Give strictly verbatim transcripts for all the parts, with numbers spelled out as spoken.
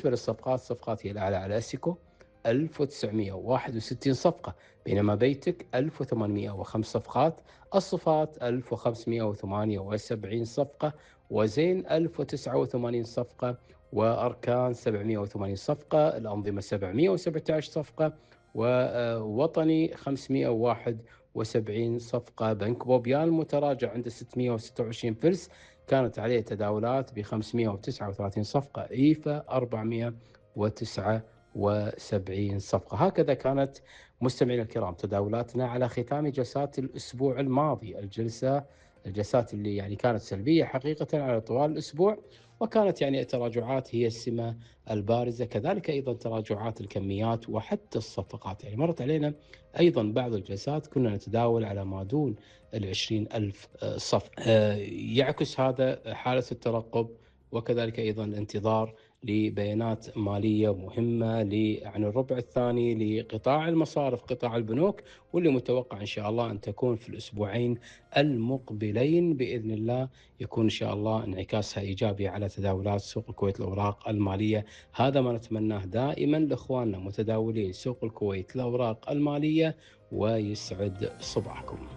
بالنسبة للصفقات، الصفقات هي الأعلى على أسيكو ألف وتسعمائة وواحد وستين صفقة، بينما بيتك ألف وثمانمائة وخمس صفقات، الصفات ألف وخمسمائة وثمانية وسبعين صفقة، وزين ألف وتسعة وثمانين صفقة، وأركان سبعمائة وثمانين صفقة، الأنظمة سبعمائة وسبعة عشر صفقة، ووطني خمسمائة وواحد وسبعين صفقة. بنك بوبيال متراجع عند ستمائة وستة وعشرين فلس، كانت عليه تداولات ب خمسمائة وتسعة وثلاثين صفقة. إيفا أربعمائة وتسعة وسبعين صفقة. هكذا كانت مستمعينا الكرام تداولاتنا على ختام جلسات الأسبوع الماضي، الجلسة الجلسات اللي يعني كانت سلبية حقيقة على طوال الأسبوع، وكانت يعني التراجعات هي السمة البارزة، كذلك أيضا تراجعات الكميات وحتى الصفقات. يعني مرت علينا أيضا بعض الجلسات كنا نتداول على ما دون العشرين ألف صفقة. يعكس هذا حالة الترقب، وكذلك أيضا الانتظار لبيانات مالية مهمة عن الربع الثاني لقطاع المصارف، قطاع البنوك، واللي متوقع إن شاء الله أن تكون في الأسبوعين المقبلين بإذن الله، يكون إن شاء الله انعكاسها إيجابي على تداولات سوق الكويت الأوراق المالية. هذا ما نتمناه دائما لإخواننا متداولين سوق الكويت الأوراق المالية، ويسعد صباحكم.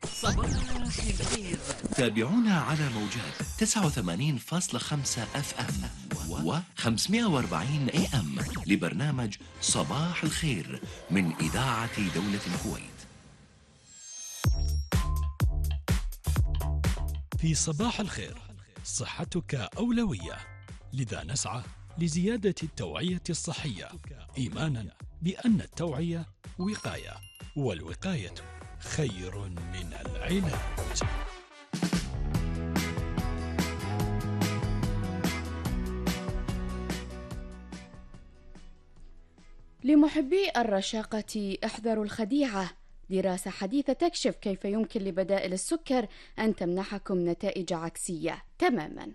صباح الخير. تابعونا على موجات تسعة وثمانين فاصلة خمسة اف ام و خمسمائة وأربعين اي ام لبرنامج صباح الخير من إذاعة دولة الكويت. في صباح الخير صحتك أولوية، لذا نسعى لزيادة التوعية الصحية، إيمانا بأن التوعية وقاية، والوقاية خير من العلاج. لمحبي الرشاقة احذروا الخديعة. دراسة حديثة تكشف كيف يمكن لبدائل السكر أن تمنحكم نتائج عكسية تماما.